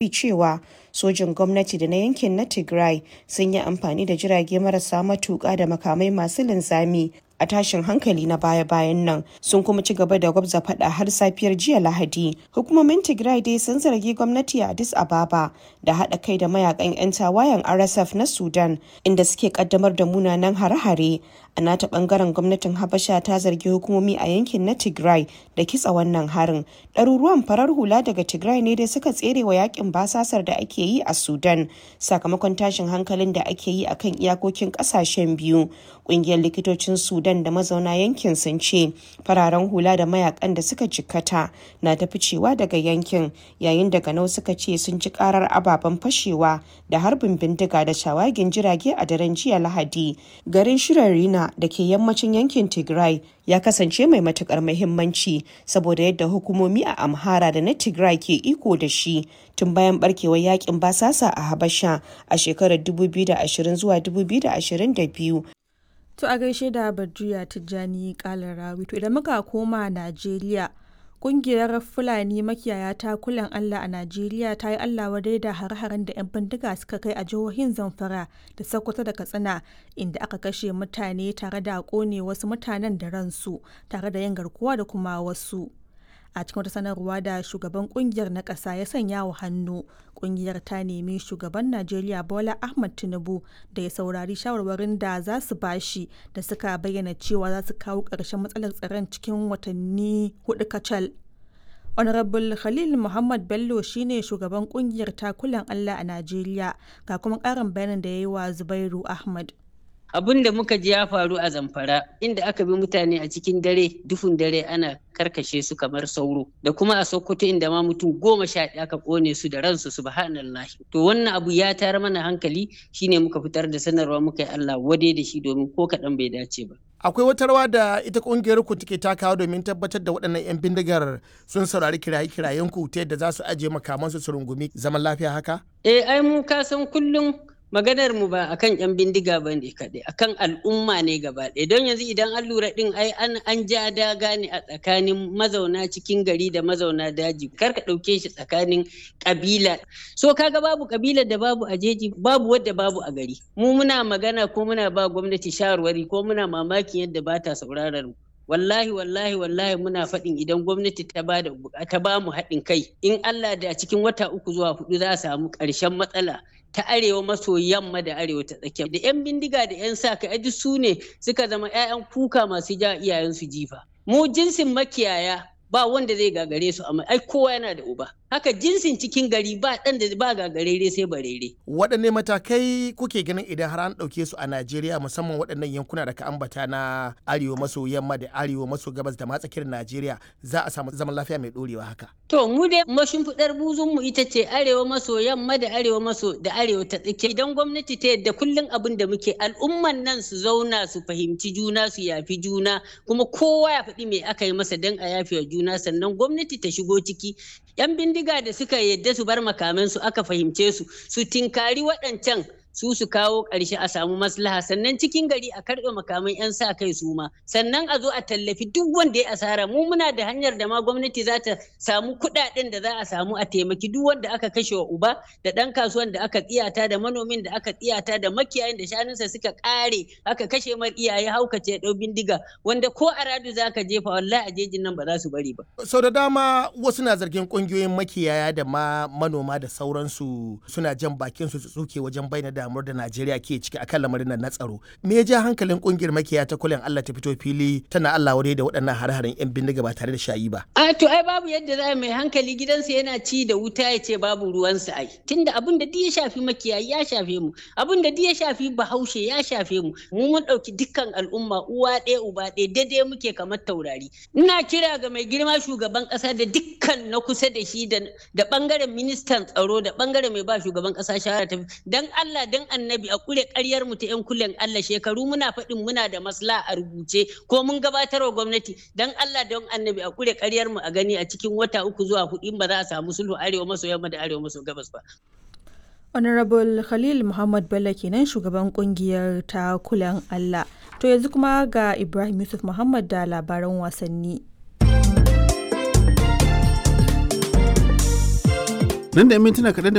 Cewa sojin gwamnati da na yankin na Tigray sun yi amfani da jirage marasa matuka da makamai masu linzami a tashin hankali na baya-bayan nan, sun kuma ci gaba da gwabza fada har safiyar jiya Lahadi. Hukumomin Tigray dai sun zargi gwamnati a Addis Ababa da haɗa kai da mayakan 'yan tawayen RSF na Sudan, inda suke kaddamar da munanan hare-hare. A nata bangaren, gwamnatin Habasha ta zargi hukumomi a yankin na Tigray da kitsa wannan harin. Ɗaruruwan farar hula daga Tigray ne dai suka tsere wa yakin basasar da ake yi a Sudan sakamakon tashin hankalin da ake yi akan iyakokin ƙasashen biyu. Ƙungiyar likitocin Sudan da mazauna yankin sun ce fararen hula da mayakan da suka jikkata na ta ficewa daga yankin, yayin da ganau suka ce sun ji karar ababen fashewa da harbin bindiga da shawagin jirage a daren jiya Lahadi. Garin Shirarina da ke yammacin yankin Tigray ya kasance mai matukar muhimmanci saboda yadda hukumomi a Amhara da na Tigray ke iko da shi tun bayan barkewar yakin basasa a Habasha a shekarar 2020 zuwa 2022. To a gaishe da Badriya Tijjani Kalarawi. To idan muka koma Najeriya, kungiyar Fulani makiyaya ta kulan Allah a Najeriya ta yi Allah wadai da hare-haren da 'yan bindiga suka kai a jihohin Zamfara da Sokoto da Katsina, inda aka kashe mutane tare da kone wasu mutanen da ransu tare da yin garkuwa da kuma wasu. A cikin wata sanarwa da shugaban kungiyar na ƙasa ya sanya wa hannu, kungiyar ta nemi shugaban Najeriya Bola Ahmad Tinubu da ya saurari shawarwarin da za su bashi, da suka bayyana cewa za su kawo ƙarshen matsalar tsaron cikin watanni 4 kacal. Honorable Khalil Muhammad Bello shine shugaban kungiyar takulan Allah a Najeriya, ga kuma ƙarin bayanin da ya yi wa Zubairu Ahmad. Abin da muka ji ya faru a Zamfara, inda aka bi mutane a cikin dare, duhun dare, ana karkashe su kamar sauro, da kuma a Sokoto, inda ma mutum 11 aka kone su da ransu, subhanallah. To wannan abu ya tayar mana hankali, shine muka fitar da sanarwa muka yi Allah wade da shi, domin ko kaɗan bai dace ba. Akwai wata rawa da ita kungiyar ku take takawa domin tabbatar da waɗannan 'yan bindigar sun saurari kiraye-kirayen ku ta yadda za su ajiye makamansu su rungumi zaman lafiya haka? Eh, ai mu ka san kullum maganar mu ba akan yan bindiga ba ne kaɗai, akan al'umma ne gaba ɗaya. Don yanzu idan an lura ɗin, ai an ja daga ne a tsakanin mazauna cikin gari da mazauna daji. Kar ka ɗauke shi tsakanin ƙabila. So kaga babu ƙabilar da babu a jeji, babu wadda babu a gari. Mu muna magana ko muna ba gwamnati shawarwari ko muna mamakin yadda ba ta sauraron mu. Wallahi, wallahi, wallahi, muna faɗin idan gwamnati ta ba da ta ba mu haɗin kai, in Allah da cikin wata 3 zuwa 4 za a samu ƙarshen matsala ta arewa maso yamma da arewa ta tsakiya. Da 'yan bindiga da 'yan sa kai duk su ne suka zama 'ya'yan kuka masu ja iyayensu jifa. Mu jinsin makiyaya ba wanda zai gagare su, amma ai kowa yana da uba. Haka jinsin cikin gari ba ɗan da ba gagarere sai barere. Waɗanne matakai kuke ganin idan har an ɗauke su a Najeriya, musamman waɗannan yankuna da ka ambata na arewa maso yamma da arewa maso gabas da ma tsakiyar Najeriya, za a samu zaman lafiya mai ɗorewa haka? To mu dai mashimfiɗar buzun mu ita ce arewa maso yamma da arewa maso da arewa ta tsakiya. Idan gwamnati ta yadda, kullum abin da muke, al'umman nan su zauna su fahimci juna, su yafi juna, kuma kowa ya faɗi me aka yi masa don a yafe wa juna, sannan gwamnati ta shigo ciki. 'Yan bindiga da suka yadda su bar makamansu aka fahimce su, su tinkari waɗancan su su kawo ƙarshe a samu maslaha. Sannan cikin gari a karɓe makaman 'yan sa kai su ma, sannan a zo a tallafi duk wanda ya asara. Mu muna da hanyar da ma gwamnati za ta samu kuɗaɗen da za a samu a taimaki duk wanda aka kashe wa uba, da ɗan kasuwan da aka tsiyata, da manomin da aka tsiyata, da makiyayin da shanunsa suka ƙare aka kashe mar iyaye, haukace ya ɗau bindiga, wanda ko a radu za ka jefa, wallahi a jejin nan ba za su bari ba. Sau da dama wasu na zargin ƙungiyoyin makiyaya da ma manoma da sauransu suna jan bakin su tsuke wajen bayyana damuwar da Najeriya ke ciki akan lamarin nan na tsaro. Me ya ja hankalin kungiyar makiyaya ta kulen Allah ta fito fili tana Allah wadai da waɗannan hare-haren 'yan bindiga ba tare da shayi ba? A to ai babu yadda za mai hankali gidansa yana ci da wuta ya ce babu ruwansa ai. Tunda abin da duk ya shafi makiyayi ya shafe mu, abin da duk ya shafi Bahaushe ya shafe mu. Mu mun ɗauki dukkan al'umma uwa ɗaya uba ɗaya, daidai muke kamar taurari. Ina kira ga mai girma shugaban ƙasa da dukkan na kusa da shi, da ɓangaren ministan tsaro, da ɓangaren mai ba shugaban ƙasa shawara, ta dan Allah dan Annabi a kure ƙaryar mu ta 'yan kulen Allah. Shekaru muna faɗin muna da maslaha a rubuce ko mun gabatar wa gwamnati. Dan Allah don Annabi a kure ƙaryar mu, a gani a cikin wata 3 zuwa 4 ba za a samu sulhu arewa maso yamma da arewa maso gabas ba. Honorable Khalil Muhammad Bello kenan, shugaban kungiyar ta kulan Allah. To yanzu kuma ga Ibrahim Yusuf Muhammad da labaran wasanni. Nan da 'yan mintuna kaɗan da